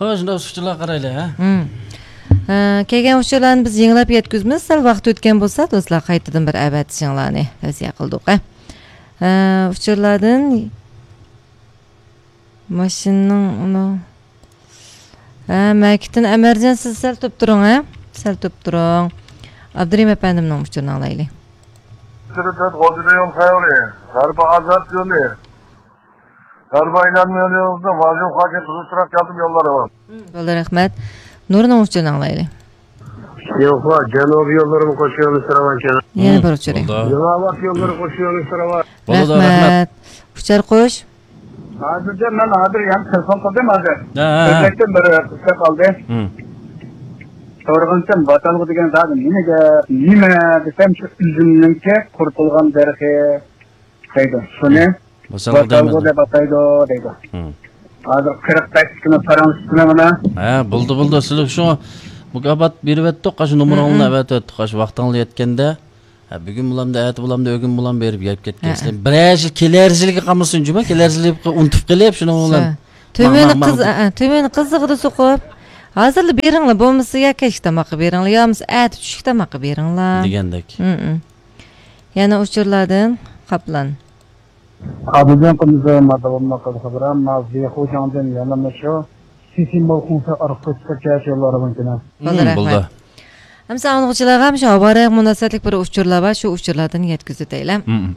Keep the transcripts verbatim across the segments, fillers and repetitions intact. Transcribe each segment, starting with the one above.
خوش، شۇنداق ئۇچۇرلارغا قارايلى، ھە؟ ھە، كەلگەن ئۇچۇرلارنى بىز يېڭىلاپ يەتكۈزىمىز. سەل ۋاقىت ئۆتكەن بولسا، دوستلار، قايتىدىن بىر ئەۋەتىشىڭلارنى تەۋسىيە قىلدۇق، ھە. ھە، ئۇچۇرلاردىن ماشىنىنىڭ ئۇنى، ھە، مەكىتتىن ئەمەرجان، سىز سەل تۇرۇپ تۇرۇڭ، ھە. سەل تۇرۇپ تۇرۇڭ. ئابدۇرېھىم ئەپەندىمنىڭ ئۇچۇرىنى ئالايلى. سۈرۈتەت غوجىدا يول خەۋىرى. غەربىي ئازاد يولى. غەربىي ئايلانما يولىمىزدا ۋاجۇ خاكى قىزىل تۇراق ياردىمى يوللىرى بار. بولدى، رەھمەت. نۇرنىڭ ئۇچۇرىنى ئاڭلايلى. يوقلا، جەنۇبىي يوللىرىمۇ قوشۇۋېلىش راۋان. يەنە بىر ئۇچۇرى. بولدى. يېڭىئاۋات يوللىرى قوشۇۋېلىش راۋان. بولدى، رەھمەت. ئۇچار قوش. ھازىرچە مەن ھازىر يەنە تېلېفون قىلدىم ھازىر. ھە، ھە، ھە. ئۆزبەكتىن بىر قىز كەپ قالدى. ھىم. سورىغىنىم ۋاتالغۇ دېگەن زادى نېمە گەپ؟ نېمە دېسەم، شۇ ئۈزۈمنىڭكى قۇرۇتۇلغان دەرىخى دەيدۇ. شۇنى ۋاتالغۇ دەيمىز. ۋاتالغۇ دەپ ئاتايدۇ دەيدۇ. ھىم. ھازىر قىرىق بەش كۈنى پاراڭلىشىپ تۇرۇڭ ئانا. ھە، بولدى، بولدى. سىلەر شۇ مۇكاپات بېرىۋەتتۇق، ئاشۇ نومۇرۇڭلارنى ھىم، ھىم. ئەۋەتىۋەتتۇق. ئاشۇ ۋاقتىڭلار يەتكەندە، ھە، بۈگۈن بولامدۇ، ئەتە بولامدۇ، ئۆگۈن بولامدۇ بېرىپ يەپ كەتكەيسىلەر. ھە. بىرەر يىل كېلەر يىلىگە قالمىسۇن جۇمۇ، كېلەر يىلىگە ئۇنتۇپ قېلىپ شۇنىڭ بىلەن. شۇ. تۆمۈرنى ماڭ، ماڭ، قىز-، ماڭ. ئە، تۆمۈرنى قىزىقىدا سوقۇپ، ھازىرلا بېرىڭلار، بولمىسا يا كەچلىك تاماققا بېرىڭلار، يا بولمىسا ئەتە چۈشلۈك تاماققا بېرىڭلار. دېگەندەك. ھىم، ھىم. يەنە ئۇچۇرلاردىن قاپلان. ئابىدىن قىمزى ماددا بولماققا خەبەر، مازى خوجاڭدىن يەنە مەشۇ، سىسىمبول خۇڭسى ئارقا كۆچۈپ كەچ يوللارى مۇمكىن. بولدى، ھىم، رەھمەت. بولدى. ئەمسە ئاڭلىغۇچىلارغا شۇ ھاۋا رايىغا مۇناسىۋەتلىك بىر ئۇچۇرلار بار، شۇ ئۇچۇرلاردىن يەتكۈزۈۋېتەيلى. ھىم، ھىم.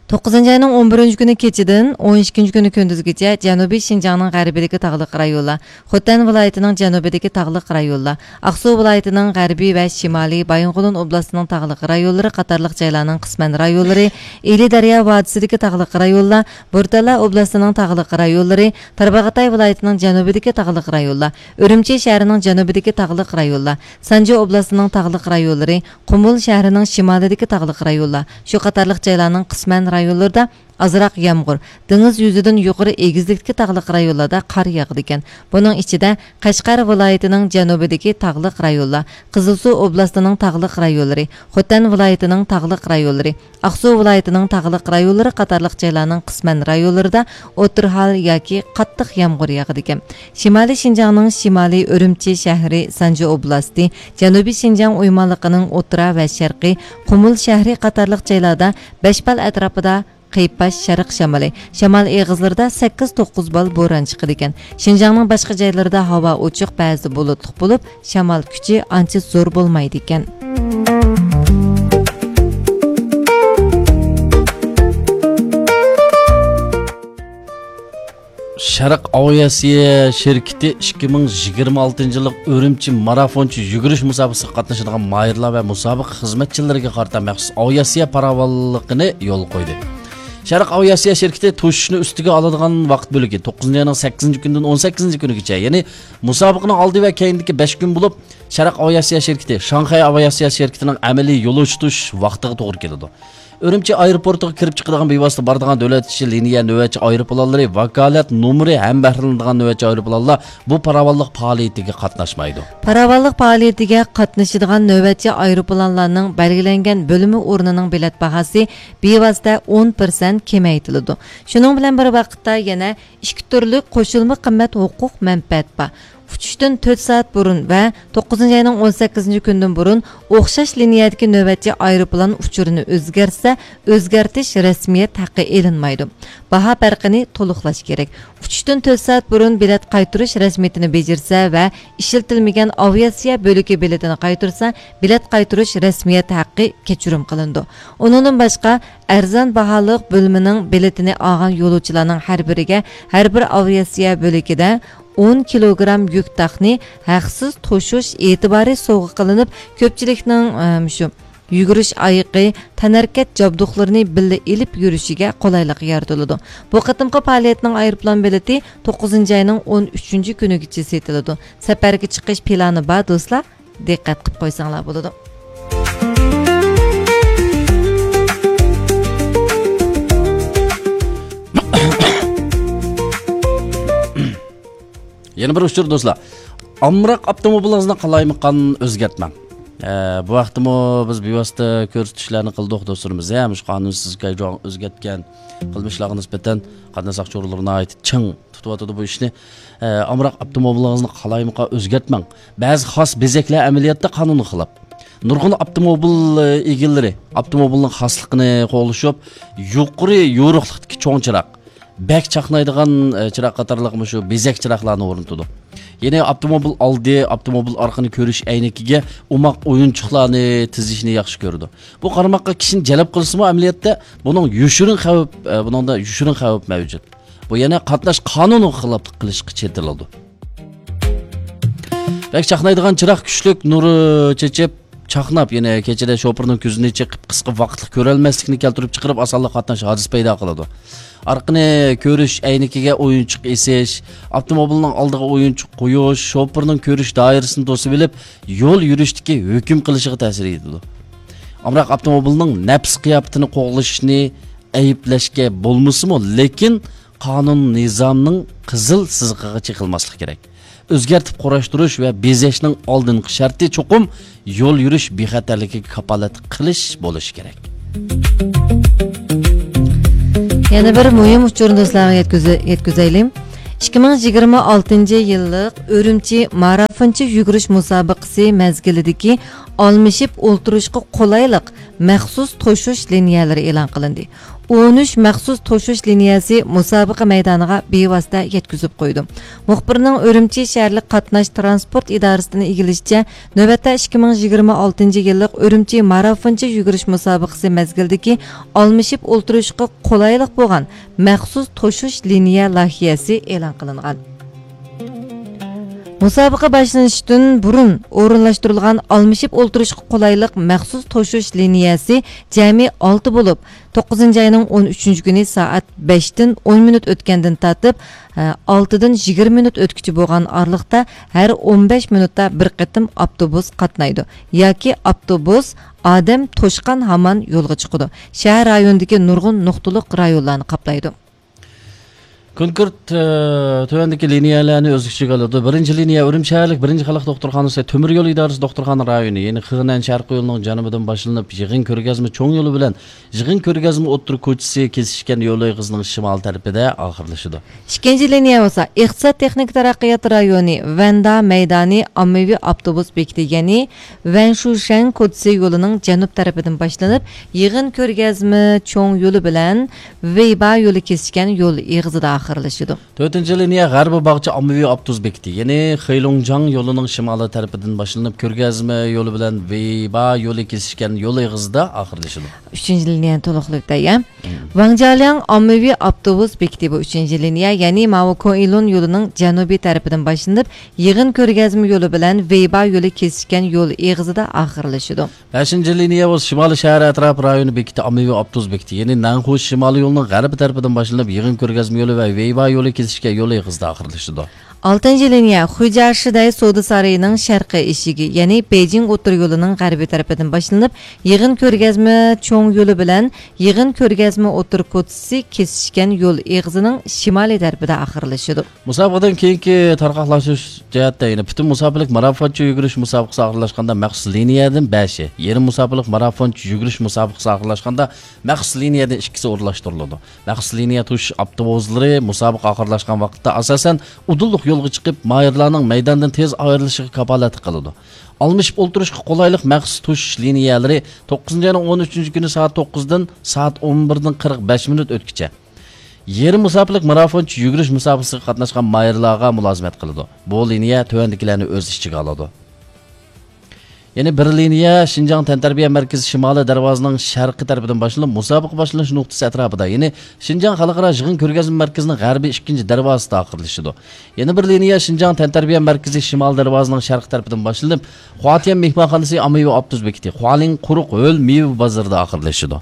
توققۇزىنچى ئاينىڭ ئون بىرىنچى كۈنى كېچىدىن ئون ئىككىنچى كۈنى كۈندۈزگىچە جەنۇبىي شىنجاڭنىڭ غەربىدىكى تاغلىق رايونلار، خوتەن ۋىلايىتىنىڭ جەنۇبىدىكى تاغلىق رايونلار، ئاقسۇ ۋىلايىتىنىڭ غەربىي ۋە شىمالىي، بايىنغولىن ئوبلاستىنىڭ تاغلىق رايونلىرى قاتارلىق جايلارنىڭ قىسمەن رايونلىرى، ئىلى دەريا ۋادىسىدىكى تاغلىق رايونلار، بورتالا ئوبلاستىنىڭ تاغلىق رايونلىرى، تارباغاتاي ۋىلايىتىنىڭ جەنۇبىدىكى تاغلىق رايونلار، ئۈرۈمچى شەھىرىنىڭ جەنۇبىدىكى تاغلىق رايونلار، سانجى ئوبلاستىنىڭ تاغلىق رايونلىرى، قۇمۇل شەھىرىنىڭ شىمالىدىكى تاغلىق رايونلار، شۇ قاتارلىق جايلارنىڭ قىسمەن رايونلىرىدا ئازراق يامغۇر، دېڭىز يۈزىدىن يۇقىرى ئېگىزلىكتىكى تاغلىق رايونلاردا قار ياغىدىكەن. بۇنىڭ ئىچىدە، قەشقەر ۋىلايىتىنىڭ جەنۇبىدىكى تاغلىق رايونلار، قىزىلسۇ ئوبلاستىنىڭ تاغلىق رايونلىرى، خوتەن ۋىلايىتىنىڭ تاغلىق رايونلىرى، ئاقسۇ ۋىلايىتىنىڭ تاغلىق رايونلىرى قاتارلىق جايلارنىڭ قىسمەن رايونلىرىدا ئوتتۇرا ھال ياكى قاتتىق يامغۇر ياغىدىكەن. شىمالىي شىنجاڭنىڭ شىمالىي ئۈرۈمچى شەھىرى، سانجى ئوبلاستى، جەنۇبىي شىنجاڭ ئويمانلىقىنىڭ ئوتتۇرا ۋە شەرقىي قۇمۇل شەھىرى قاتارلىق جايلاردا بەش بال ئەتراپىدا قىيپاش شەرق شامىلى، شامال ئېغىزلىرىدا سەككىز توققۇز بال بوران چىقىدىكەن. شىنجاڭنىڭ باشقا جايلىرىدا ھاۋا ئوچۇق، بەزىدە بۇلۇتلۇق بولۇپ، شامال كۈچى ئانچە زور بولمايدىكەن. شەرق ئاۋىئاتسىيە شىركىتى ئىككى مىڭ يىگىرمە ئالتىنچى يىللىق ئۈرۈمچى مارافونچە يۈگۈرۈش مۇسابىقىسىگە قاتنىشىدىغان ماھىرلار ۋە مۇسابىقە خىزمەتچىلىرىگە قارىتا مەخسۇس ئاۋىئاتسىيە پاراۋانلىقىنى يولغا قويدى. شەرق ئاۋىئاتسىيە شىركىتى توشۇشنى ئۈستىگە ئالىدىغان ۋاقىت بۆلىكى توققۇزىنچى ئاينىڭ سەككىزىنچى كۈنىدىن ئون سەككىزىنچى كۈنىگىچە، يەنى مۇسابىقىنىڭ ئالدى ۋە كەينىدىكى بەش كۈن بولۇپ، شەرق ئاۋىئاتسىيە شىركىتى شاڭخەي ئاۋىئاتسىيە شىركىتىنىڭ ئەمەلىي يولۇچى تۇتۇش ۋاقتىغا توغرا كېلىدۇ. ئۈرۈمچى ئايروپورتىغا كىرىپ چىقىدىغان بىۋاسىتە بارىدىغان دۆلەت ئىچى لىنىيە نۆۋەتچى ئايروپىلانلىرى، ۋاكالەت نومۇرى ھەمبەھىرلىنىدىغان نۆۋەتچى ئايروپىلانلار بۇ پاراۋانلىق پائالىيىتىگە قاتناشمايدۇ. پاراۋانلىق پائالىيىتىگە قاتنىشىدىغان نۆۋەتچى ئايروپىلانلارنىڭ بەلگىلەنگەن بۆلمە ئورنىنىڭ بېلەت باھاسى بىۋاسىتە ئون پىرسەنت كېمەيتىلىدۇ. شۇنىڭ بىلەن بىر ۋاقىتتا يەنە ئىككى تۈرلۈك قوشۇلما قىممەت ھوقۇق مەنپەئەت بار. ئۇچۇشتىن تۆت سائەت بۇرۇن ۋە توققۇزىنچى ئاينىڭ ئون سەككىزىنچى كۈنىدىن بۇرۇن ئوخشاش لىنىيەدىكى نۆۋەتچى ئايروپىلان ئۇچۇرىنى ئۆزگەرتسە، ئۆزگەرتىش رەسمىيەت ھەققى ئېلىنمايدۇ. باھا پەرقىنى تولۇقلاش كېرەك. ئۇچۇشتىن تۆت سائەت بۇرۇن بېلەت قايتۇرۇش رەسمىيىتىنى بېجىرسە ۋە ئىشلىتىلمىگەن ئاۋىئاتسىيە بۆلىكى بېلىتىنى قايتۇرسا، بېلەت قايتۇرۇش رەسمىيەت ھەققى كەچۈرۈم قىلىنىدۇ. ئۇنىڭدىن باشقا، ئەرزان باھالىق بۆلۈمىنىڭ بېلىتىنى ئالغان يولۇچىلارنىڭ ھەر بىرىگە ھەر بىر ئاۋىئاتسىيە بۆلىكىدە ئون كىلوگرام يۈك تاقنى ھەقسىز توشۇش ئېتىبارى سوۋغا قىلىنىپ، كۆپچىلىكنىڭ، ئە، مۇشۇ يۈگۈرۈش ئايىقى، تەنھەرىكەت جابدۇقلىرىنى بىللە ئېلىپ يۈرۈشىگە قولايلىق يارىتىلىدۇ. بۇ قېتىمقى پائالىيەتنىڭ ئايروپىلان بېلىتى توققۇزىنچى ئاينىڭ ئون ئۈچىنچى كۈنىگىچە سېتىلىدۇ. سەپەرگە چىقىش پىلانى بار دوستلار، دىققەت قىلىپ قويساڭلار بولىدۇ. يەنە بىر ئۇچۇر دوستلار. ئامراق ئاپتوموبىلىڭىزنى قالايمىقان ئۆزگەرتمەڭ. ئە، بۇ ھەقتىمۇ بىز بىۋاسىتە كۆرسىتىشلەرنى قىلدۇق دوستلىرىمىز. ھە، مۇشۇ قانۇنسىز كايجۇاڭ ئۆزگەرتكەن قىلمىشلارغا نىسبەتەن قاتناش ساقچى ئورۇنلىرى ناھايىتى چىڭ تۇتۇۋاتىدۇ بۇ ئىشنى. ئە، ئامراق ئاپتوموبىلىڭىزنى قالايمىقان ئۆزگەرتمەڭ. بەزى خاس بېزەكلەر ئەمەلىيەتتە قانۇنغا خىلاپ. نۇرغۇن ئاپتوموبىل، ئە، ئىگىلىرى ئاپتوموبىلنىڭ خاسلىقىنى قوغلىشىپ، يۇقىرى يورۇقلۇقتىكى چوڭ چىراغ، بەك چاقنايدىغان، ئە، چىراغ قاتارلىق مۇشۇ بېزەك چىراغلارنى ئورنىتىدۇ. يەنە ئاپتوموبىل ئالدى، ئاپتوموبىل ئارقىنى كۆرۈش ئەينىكىگە ئوماق ئويۇنچۇقلارنى تىزىشنى ياخشى كۆرىدۇ. بۇ قارىماققا كىشىنى جەلپ قىلسىمۇ، ئەمەلىيەتتە بۇنىڭ يوشۇرۇن خەۋپ، ئە، بۇنىڭدا يوشۇرۇن خەۋپ مەۋجۇت. بۇ يەنە قاتناش قانۇنىغا خىلاپلىق قىلىشقا چېتىلىدۇ. بەك چاقنايدىغان چىراغ كۈچلۈك نۇر چېچىپ، چاقناپ، يەنە كېچىدە شوپۇرنىڭ كۆزىنى چېقىپ، قىسقا ۋاقىتلىق كۆرەلمەسلىكنى كەلتۈرۈپ چىقىرىپ، ئاسانلا قاتناش ھادىسىسى پەيدا قىلىدۇ. ئارقىنى كۆرۈش ئەينىكىگە ئويۇنچۇق ئېسىش، ئاپتوموبىلنىڭ ئالدىغا ئويۇنچۇق قويۇش، شوپۇرنىڭ كۆرۈش دائىرىسىنى توسۇۋېلىپ، يول يۈرۈشتىكى ھۆكۈم قىلىشىغا تەسىر يېتىدۇ. ئامراق ئاپتوموبىلنىڭ نەپس قىياپىتىنى قوغلىشىنى ئەيىبلەشكە بولمىسىمۇ، لېكىن قانۇن نىزامنىڭ قىزىل سىزىقىغا چېقىلماسلىق كېرەك. ئۆزگەرتىپ قۇراشتۇرۇش ۋە بېزەشنىڭ ئالدىنقى شەرتى چوقۇم يول يۈرۈش بىخەتەرلىكىگە كاپالەتلىك قىلىش بولۇشى كېرەك. يەنە بىر مۇھىم ئۇچۇرنى دوستلارغا يەتكۈزە-، يەتكۈزەيلى. ئىككى مىڭ يىگىرمە ئالتىنچى يىللىق ئۈرۈمچى مارافونچە يۈگۈرۈش مۇسابىقىسى مەزگىلىدىكى ئالمىشىپ ئولتۇرۇشقا قولايلىق مەخسۇس توشۇش لىنىيەلىرى ئېلان قىلىندى. ئون ئۈچ مەخسۇس توشۇش لىنىيەسى مۇسابىقە مەيدانىغا بىۋاسىتە يەتكۈزۈپ قويىدۇ. مۇخبىرنىڭ ئۈرۈمچى شەھەرلىك قاتناش تىرانسپورت ئىدارىسىدىن ئىگىلىشىچە، نۆۋەتتە ئىككى مىڭ يىگىرمە ئالتىنچى يىللىق ئۈرۈمچى مارافونچە يۈگۈرۈش مۇسابىقىسى مەزگىلىدىكى ئالمىشىپ ئولتۇرۇشقا قولايلىق بولغان مەخسۇس توشۇش لىنىيە لايىھەسى ئېلان قىلىنغان. مۇسابىقە باشلىنىشتىن بۇرۇن ئورۇنلاشتۇرۇلغان ئالمىشىپ ئولتۇرۇشقا قولايلىق مەخسۇس توشۇش لىنىيەسى جەمئىي ئالتە بولۇپ، توققۇزىنچى ئاينىڭ ئون ئۈچىنچى كۈنى سائەت بەشتىن ئون مىنۇت ئۆتكەندىن تارتىپ، ئە، ئالتىدىن يىگىرمە مىنۇت ئۆتكۈچە بولغان ئارىلىقتا ھەر ئون بەش مىنۇتتا بىر قېتىم ئاپتوبۇس قاتنايدۇ ياكى ئاپتوبۇس ئادەم توشقان ھامان يولغا چىقىدۇ. شەھەر رايونىدىكى نۇرغۇن نۇقتىلىق رايونلارنى قاپلايدۇ. كونكرېت، ئە، تۆۋەندىكى لىنىيەلەرنى ئۆز ئىچىگە ئالىدۇ. بىرىنچى لىنىيە ئۈرۈمچى شەھەرلىك بىرىنچى خەلق دوختۇرخانىسى، تۆمۈر يول ئىدارىسى دوختۇرخانا رايونى، يەنى خېنەن شەرقىي يولىنىڭ جەنۇبىدىن باشلىنىپ، يىغىن كۆرگەزمە چوڭ يولى بىلەن يىغىن كۆرگەزمە ئوتتۇرا كوچىسى كېسىشكەن يول ئېغىزىنىڭ شىمال تەرىپىدە ئاخىرلىشىدۇ. ئىككىنچى لىنىيە بولسا ئىقتىساد تېخنىكا تەرەققىيات رايونى، ۋەندا مەيدانى ئاممىۋى ئاپتوبۇس بېكىتى، يەنى ۋەنشۇشەن كوچىسى يولىنىڭ جەنۇب تەرىپىدىن باشلىنىپ، يىغىن كۆرگەزمە چوڭ يولى بىلەن ۋېيبا يولى كېسىشكەن يول ئېغىزىدا ئاخىرلىشىدۇ. تۆتىنچى لىنىيە غەربىي باغچە ئاممىۋى ئاپتوبۇس بېكىتى، يەنى خېيلۇڭجاڭ يولىنىڭ شىمالىي تەرىپىدىن باشلىنىپ، كۆرگەزمە يولى بىلەن ۋېيبا يولى كېسىشكەن يول ئېغىزىدا ئاخىرلىشىدۇ. ئۈچىنچى لىنىيەنى تولۇقلاپ ئۆتەي. ۋاڭجيالياڭ ئاممىۋى ئاپتوبۇس بېكىتى بۇ ئۈچىنچى لىنىيە، يەنى ماۋۇ كوئىلۇن يولىنىڭ جەنۇبىي تەرىپىدىن باشلىنىپ، يىغىن كۆرگەزمە يولى بىلەن ۋېيبا يولى كېسىشكەن يول ئېغىزىدا ئاخىرلىشىدۇ. بەشىنچى لىنىيە بولسا شىمالىي شەھەر ئەتراپى رايونى بېكىتى ئاممىۋى ئاپتوبۇس بېكىتى، يەنى نەنخۇ شىمالىي يولىنىڭ غەربىي تەرىپىدىن باشلىنىپ، يىغىن كۆرگەزمە يولى ۋە ۋېيبا يولى كېسىشكەن يول ئېغىزىدا ئاخىرلىشىدۇ. ئالتىنچى لىنىيە خۇجيا شىدەي سودا سارىيىنىڭ شەرقىي ئېشىكى، يەنى بېيجىڭ ئوتتۇرا يولىنىڭ غەربىي تەرىپىدىن باشلىنىپ، يىغىن كۆرگەزمە چوڭ يولى بىلەن يىغىن كۆرگەزمە ئوتتۇرا كوچىسى كېسىشكەن يول ئېغىزىنىڭ شىمالىي تەرىپىدە ئاخىرلىشىدۇ. مۇسابىقىدىن كېيىنكى تارقاقلاشتۇرۇش جەھەتتە يەنە پۈتۈن مۇساپىلىك مارافونچە يۈگۈرۈش مۇسابىقىسى ئاخىرلاشقاندا مەخسۇس لىنىيەدىن بەشى، يېرىم مۇساپىلىك مارافونچە يۈگۈرۈش مۇسابىقىسى ئاخىرلاشقاندا مەخسۇس لىنىيەدىن ئىككىسى ئورۇنلاشتۇرۇلىدۇ. مەخسۇس لىنىيە توشۇش ئاپتوبۇسلىرى مۇسابىقە ئاخىرلاشقان ۋاقىتتا ئاساسەن ئۇدۇللۇق يولغا چىقىپ، ماھىرلارنىڭ مەيداندىن تېز ئايرىلىشىغا كاپالەتلىك قىلىدۇ. ئالمىشىپ ئولتۇرۇشقا قولايلىق مەخسۇس توشۇش لىنىيەلىرى توققۇزىنچى ئاينىڭ ئون ئۈچىنچى كۈنى سائەت توققۇزدىن سائەت ئون بىردىن قىرىق بەش مىنۇت ئۆتكىچە. يېرىم مۇساپىلىك مارافونچە يۈگۈرۈش مۇسابىقىسىگە قاتناشقان ماھىرلارغا مۇلازىمەت قىلىدۇ. بۇ لىنىيە تۆۋەندىكىلەرنى ئۆز ئىچىگە ئالىدۇ. يەنە بىر لىنىيە شىنجاڭ تەنتەربىيە مەركىزى شىمالىي دەرۋازىنىڭ شەرقىي تەرىپىدىن باشلىنىپ، مۇسابىقە باشلىنىش نۇقتىسى ئەتراپىدا، يەنى شىنجاڭ خەلقئارا يىغىن كۆرگەزمە مەركىزىنىڭ غەربىي ئىككىنچى دەرۋازىسىدا ئاخىرلىشىدۇ. يەنە بىر لىنىيە شىنجاڭ تەنتەربىيە مەركىزى شىمال دەرۋازىنىڭ شەرقىي تەرىپىدىن باشلىنىپ، خۇاتيەن مېھمانخانىسى ئاممىۋى ئاپتوبۇس بېكىتى، خۇالىڭ قۇرۇق ھۆل مېۋە بازىرىدا ئاخىرلىشىدۇ.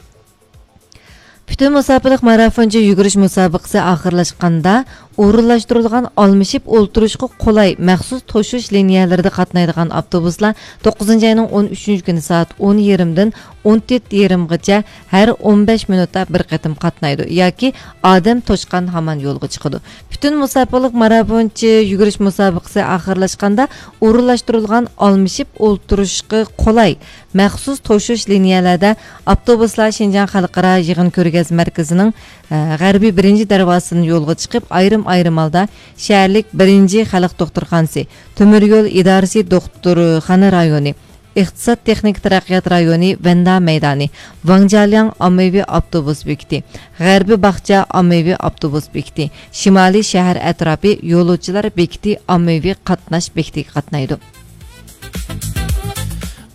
پۈتۈن مۇساپىلىك مارافونچە يۈگۈرۈش مۇسابىقىسى ئاخىرلاشقاندا، ئورۇنلاشتۇرۇلغان ئالمىشىپ ئولتۇرۇشقا قولاي مەخسۇس توشۇش لىنىيەلىرىدە قاتنايدىغان ئاپتوبۇسلار توققۇزىنچى ئاينىڭ ئون ئۈچىنچى كۈنى سائەت ئون يېرىمدىن ئون تۆت يېرىمغىچە ھەر ئون بەش مىنۇتتا بىر قېتىم قاتنايدۇ ياكى ئادەم توشقان ھامان يولغا چىقىدۇ. پۈتۈن مۇساپىلىك مارافونچە يۈگۈرۈش مۇسابىقىسى ئاخىرلاشقاندا، ئورۇنلاشتۇرۇلغان ئالمىشىپ ئولتۇرۇشقا قولاي مەخسۇس توشۇش لىنىيەلەردە ئاپتوبۇسلار شىنجاڭ خەلقئارا يىغىن كۆرگەزمە مەركىزىنىڭ، ئە، غەربىي بىرىنچى دەرۋازىسىدىن يولغا چىقىپ، ئايرىم-ئايرىم ھالدا شەھەرلىك بىرىنچى خەلق دوختۇرخانىسى، تۆمۈر يول ئىدارىسى دوختۇرخانا رايونى، ئىقتىساد تېخنىكا تەرەققىيات رايونى ۋەندا مەيدانى، ۋاڭجيالياڭ ئاممىۋى ئاپتوبۇس بېكىتى، غەربىي باغچە ئاممىۋى ئاپتوبۇس بېكىتى، شىمالىي شەھەر ئەتراپى يولۇچىلار بېكىتى ئاممىۋى قاتناش بېكىتىگە قاتنايدۇ.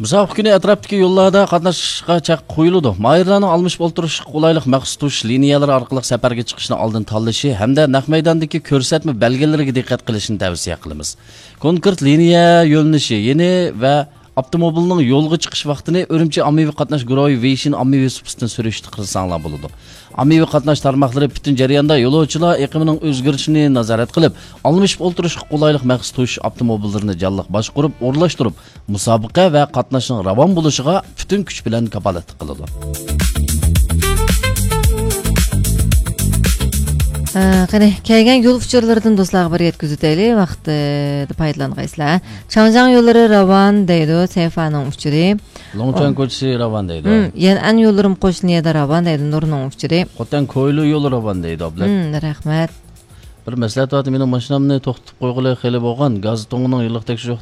مۇسابىقە كۈنى ئەتراپتىكى يوللاردا قاتناشقا چەك قويۇلىدۇ. ماھىرلارنىڭ ئالمىشىپ ئولتۇرۇشقا قولايلىق مەخسۇس توشۇش لىنىيەلىرى ئارقىلىق سەپەرگە چىقىشنى ئالدىن تاللىشى ھەمدە نەق مەيداندىكى كۆرسەتمە بەلگىلىرىگە دىققەت قىلىشنى تەۋسىيە قىلىمىز. كونكرېت لىنىيە يۆنىلىشى يېنى ۋە ئاپتوموبىلنىڭ يولغا چىقىش ۋاقتىنى ئۈرۈمچى ئاممىۋى قاتناش گۇرۇھى ۋېيشىن ئاممىۋى سۇپىسىدىن سۈرۈشتە قىلساڭلار بولىدۇ. ئاممىۋى قاتناش تارماقلىرى پۈتۈن جەرياندا يولۇچىلار ئېقىمىنىڭ ئۆزگىرىشىنى نازارەت قىلىپ، ئالمىشىپ ئولتۇرۇشقا قولايلىق مەخسۇس توشۇش ئاپتوموبىللىرىنى جانلىق باشقۇرۇپ، ئورۇنلاشتۇرۇپ، مۇسابىقە ۋە قاتناشنىڭ راۋان بولۇشىغا پۈتۈن كۈچ بىلەن كاپالەتلىك قىلىدۇ. ھە، قېنى، كەلگەن يول ئۇچۇرلىرىدىن دوستلارغا بىر يەتكۈزۈۋېتەيلى، ۋاقىتتا پايدىلانغايسىلەر. چاڭجياڭ يوللىرى راۋان دەيدۇ، سەيفانىڭ ئۇچۇرى. لوڭچۈەن كوچىسى راۋان دەيدۇ. ھىم، يەنئەن يوللىرىمۇ قوشنا يەردە راۋان دەيدۇ، نۇرنىڭ ئۇچۇرى. خوتەن كويلۇ يولى راۋان دەيدۇ، ئابلەت. ھىم، رەھمەت. بىر مەسلىھەت بار، مېنىڭ ماشىنامنى توختىتىپ قويغىلى خېلى بولغان، گاز تۇڭىنىڭ يىللىق تەكشۈرۈش ۋاقتى